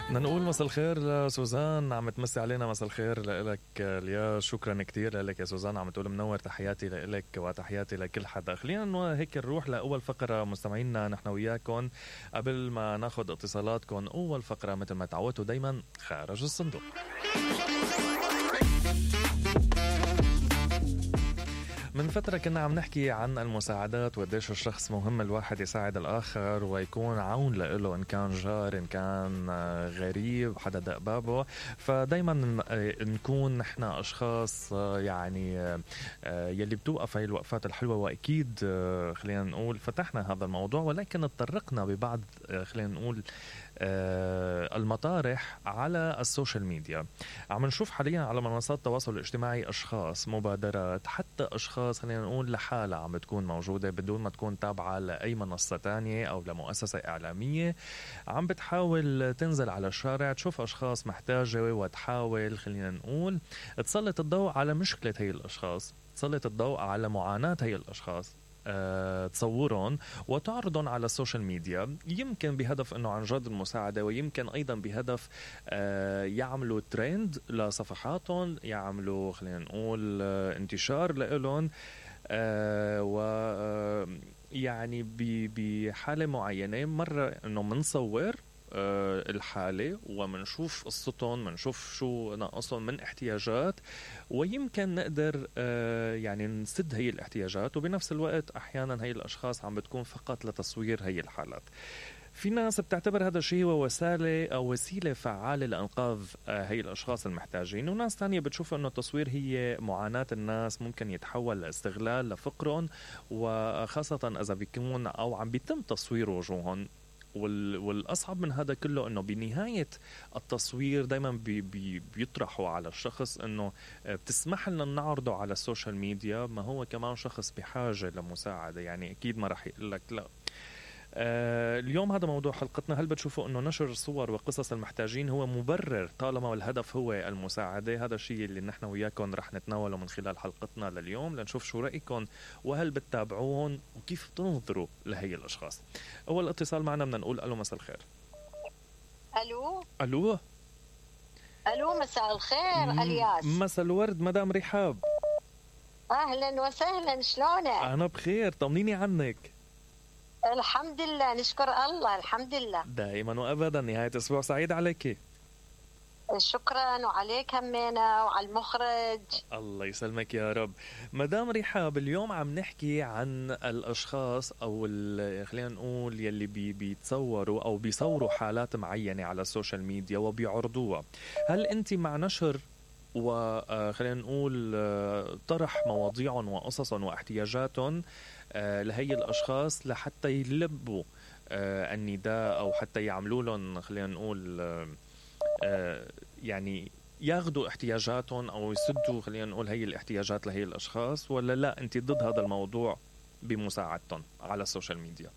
بدنا نقول مساء الخير لسوزان، عم تمسي علينا. مساء الخير لك اليا، شكرا كتير لك يا سوزان. عم تقول منور، تحياتي لك وتحياتي لكل حدا. خلينا هيك نروح لأول فقرة مستمعينا نحن وياكم قبل ما ناخد اتصالاتكم. أول فقرة مثل ما تعودتوا دايما خارج الصندوق. من فترة كنا عم نحكي عن المساعدات وقديش الشخص مهم الواحد يساعد الآخر ويكون عون له، إن كان جار إن كان غريب حدا دق بابه. فدايما نكون نحن أشخاص يعني يلي بتوقف هاي الوقفات الحلوة. وأكيد خلينا نقول فتحنا هذا الموضوع، ولكن اتطرقنا ببعض خلينا نقول المطارح على السوشيال ميديا. عم نشوف حاليا على منصات التواصل الاجتماعي أشخاص، مبادرات، حتى أشخاص خلينا نقول لحالة عم بتكون موجودة بدون ما تكون تابعة لأي منصة تانية أو لمؤسسة إعلامية، عم بتحاول تنزل على الشارع تشوف أشخاص محتاجة وتحاول خلينا نقول تسلط الضوء على مشكلة هاي الأشخاص، تسلط الضوء على معاناة هاي الأشخاص، تصورهم وتعرضهم على السوشيال ميديا، يمكن بهدف انه عن جد المساعدة، ويمكن ايضا بهدف يعملوا ترند لصفحاتهم، يعملوا خلينا نقول انتشار لهم، و يعني بحالة معينة مرة انه منصور الحالة ومنشوف قصتهم، منشوف شو ناقصهم من احتياجات، ويمكن نقدر يعني نسد هي الاحتياجات. وبنفس الوقت أحيانا هي الأشخاص عم بتكون فقط لتصوير هي الحالات. في ناس بتعتبر هذا الشيء هو وسيلة فعالة لإنقاذ هي الأشخاص المحتاجين، وناس تانية بتشوف أنه التصوير هي معاناة الناس ممكن يتحول لاستغلال لفقرهم، وخاصة إذا بيكون أو عم بيتم تصوير وجوههم. والأصعب من هذا كله أنه بنهاية التصوير دايما بيطرحوا على الشخص أنه بتسمح لنا نعرضه على السوشيال ميديا، ما هو كمان شخص بحاجة لمساعدة، يعني أكيد ما رح يقول لك لا. اليوم هذا موضوع حلقتنا. هل بتشوفوا أنه نشر صور وقصص المحتاجين هو مبرر طالما الهدف هو المساعدة؟ هذا الشيء اللي نحن وياكم رح نتناوله من خلال حلقتنا لليوم، لنشوف شو رأيكم وهل بتتابعون وكيف تنظروا لهي الأشخاص. أول اتصال معنا بدنا نقول ألو، مساء الخير. ألو مساء الخير الياس. مساء الورد مدام رحاب. أهلا وسهلا، شلونك؟ أنا بخير، طمنيني عنك. الحمد لله، نشكر الله، الحمد لله دائما وأبدا. نهاية أسبوع سعيد عليك. شكرا، وعليك همينة وعلى المخرج. الله يسلمك يا رب. مدام رحاب، اليوم عم نحكي عن الأشخاص أو خلينا نقول يلي بيتصوروا أو بيصوروا حالات معينة على السوشيال ميديا وبيعرضوها. هل أنت مع نشر وخلينا نقول طرح مواضيعهم وقصصهم واحتياجاتهم لهي الأشخاص لحتى يلبوا النداء أو حتى يعملوا لهم خلينا نقول يعني ياخدوا احتياجاتهم أو يسدوا خلينا نقول هي الاحتياجات لهي الأشخاص، ولا لا أنت ضد هذا الموضوع بمساعدتهم على السوشيال ميديا؟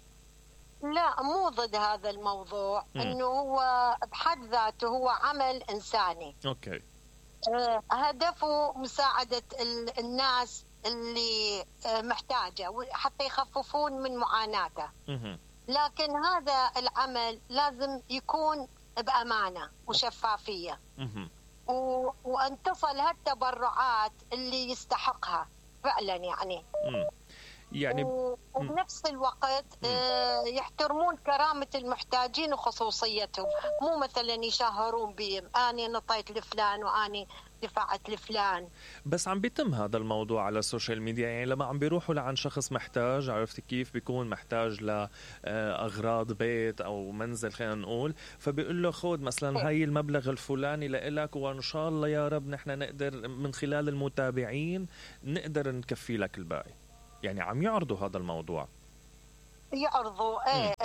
لا، مو ضد هذا الموضوع. إنه هو بحد ذاته هو عمل إنساني. أوكي. هدفه مساعدة الناس اللي محتاجة حتى يخففون من معاناته. لكن هذا العمل لازم يكون بأمانة وشفافية، وأن تصل هالتبرعات اللي يستحقها فعلا يعني وبنفس الوقت يحترمون كرامة المحتاجين وخصوصيتهم، مو مثلا يشهرون بهم أنا نطيت لفلان وأنا دفعت لفلان. بس عم بيتم هذا الموضوع على السوشيال ميديا، يعني لما عم بيروحوا لعن شخص محتاج، عرفت كيف بيكون محتاج لأغراض بيت أو منزل خلينا نقول، فبيقول له خود مثلا هاي المبلغ الفلاني لإلك وإن شاء الله يا رب نحن نقدر من خلال المتابعين نقدر نكفي لك الباقي. يعني عم يعرضوا هذا الموضوع، يعرضوا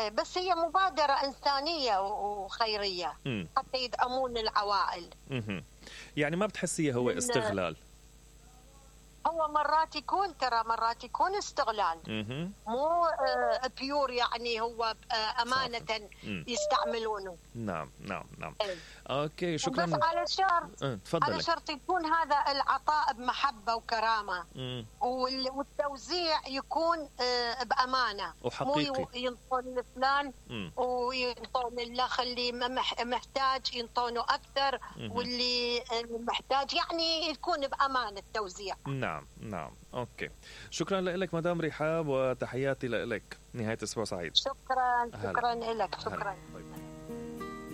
بس هي مبادرة إنسانية وخيرية حتى يدعمون العوائل. يعني ما بتحسيه هو استغلال؟ هو مرات يكون استغلال، مو بيور، يعني هو أمانة يستعملونه. نعم نعم نعم. اوكي شكرا. بس على شرط يكون هذا العطاء بمحبة وكرامة، والتوزيع يكون بأمانة وحقيقي، مو ينطون لفلان وينطون الأخ اللي محتاج ينطونه أكثر، واللي محتاج يعني يكون بأمانة التوزيع. نعم نعم. اوكي شكرا لك مدام رحاب، وتحياتي لك. نهاية اسبوع سعيد. شكرا لك. شكرا.